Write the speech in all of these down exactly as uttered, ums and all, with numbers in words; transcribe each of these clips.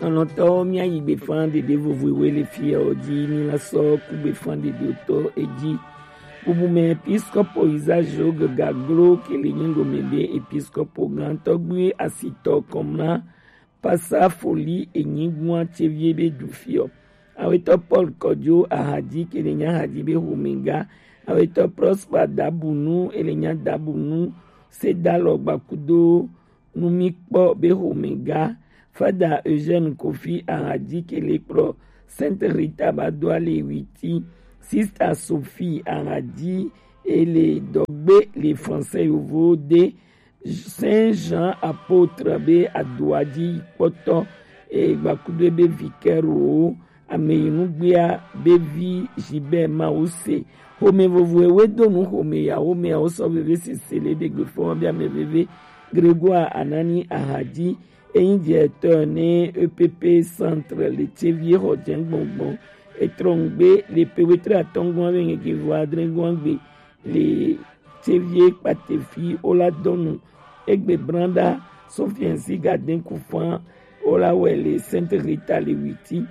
Lɔlɔ̃tɔwo, míayi gbefan ɖeɖe vovovoe le fiɔ ji, míla sɔ ku gbefan ɖeɖeotɔ eji. Bubume episkopo Isaac Jogues Gaglo ke le nyi Lome be episkopo gãtɔgbui asitɔ kɔmla pasa foli enyigua cevie be du fiɔ. Awetɔ Paul Kɔjo Ahadi ke le nya Ahadi be homega. Awetɔ Prosper Dabunu ele nya Dabunu sedalɔ gbakudo nu mi kpɔ be homega. Fada Eugène Kofi Ahadi ke le kplɔ Sainte Rita ba do ale witi. Sista Sophie Ahadi ele dɔgbe le français yovo de Saint Jean Apôtre be adoaji kpɔtɔ e gbakudo be vicaire o ame yi nugbea be vi Gilbert Mawuse. Home vovoewe do nu home ya home ya wo sɔ veve sese le ɖegbe fɔ bi ame veve Grégoire Anani Ahadi, eyin directeur ne E P P centre le Tsevi xɔ jɛ gbɔngbɔn. Etrɔ ŋgbe le pe wetre atɔngɔn ave ŋgege vɔ adre gɔn gbe le Tsevi kpatefi ola dɔnu egbe branda so fiɛnsi gaden kufan ola wɛ le Sainte Rita le witi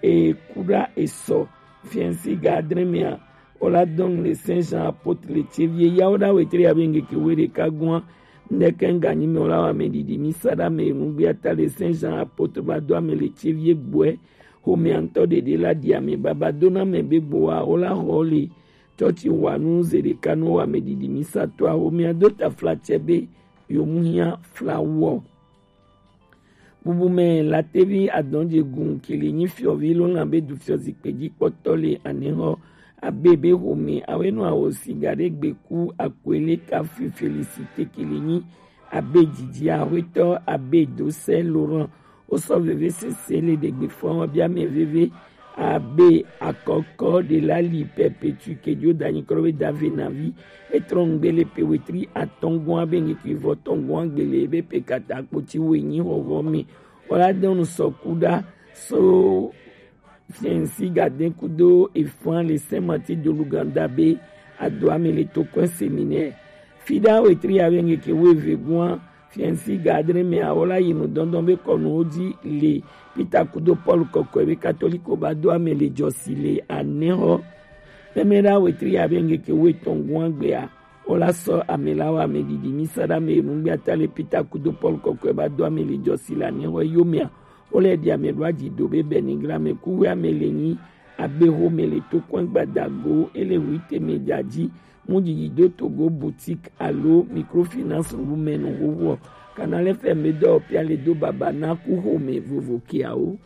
e kuɖa esɔ fiɛnsi ga adre mea ola dɔnu le Saint Jean Apôtre le Tsevi ya oɖa wetre ave ŋgege we ɖeka gɔn. Ndeke ŋganyi me ola wa me ɖiɖi mi sa ɖa me ŋugbe ata le Saint Jean Apôtre ba do ame le Tsevi gbɔe. Homea ŋutɔ ɖeɖe la ɖi ame baba do na ame be gboa ola xɔ le tsɔtsi wa nu ze ɖeka nu wa me ɖiɖi mi sa to a homea do taflatse be yomuhia flawɔ. Bubume Latevi Adɔnjegun ke le nyi fiɔvi lo lan be du fiɔ zikpe ji kpɔtɔ le anexɔ abe be home awe nɔ awo siga ɖe gbeku akwele kafi Félicité ke le nyi abe jiji ahwetɔ abe dosɛ Laurent. Wo sɔ veve sese le ɖegbe fɔ wa bi ame veve abe akɔkɔ ɖe la li Perpétue ke jo danyi krɔ be dave navi. Etrɔ ŋgbe le pe wetri atɔngɔn abe ŋgeke vɔ tɔngɔn agbele be pe kata kpoti wo enyi xɔxɔ me. Wala dɔnu sɔ kuɖa so fiɛnsi gaden kudo efan le Saint Martin de l'Ouganda be adoa me le tokɔn séminaire. Fiɖa wetri abe ŋgeke wo eve gɔn fiɛnsi ga adre me awo la yi nu dɔndɔn be kɔnuwo ji le Peter kudo Paul kɔkɔe be katoliko ba do ame le jɔsi le anexɔ. Mɛmɛ ɖa wetri abe ŋgeke wo etɔn gɔn agbea wo la sɔ ame la wa ame ɖiɖi mi sa ɖa me enu gbe ata le Peter kudo Paul kɔkɔe ba do ame le jɔsi le anexɔ yomea wo le ɖi ame ɖo aji do be benigra me kuwe ame le nyi abe home le tokɔn gbadago ele wi teme jaji. Mu jiji do Togo boutique alo microfinance wu me nu wowo. Canal F M be dɔ pia le do baba na ku home vovo kiawo.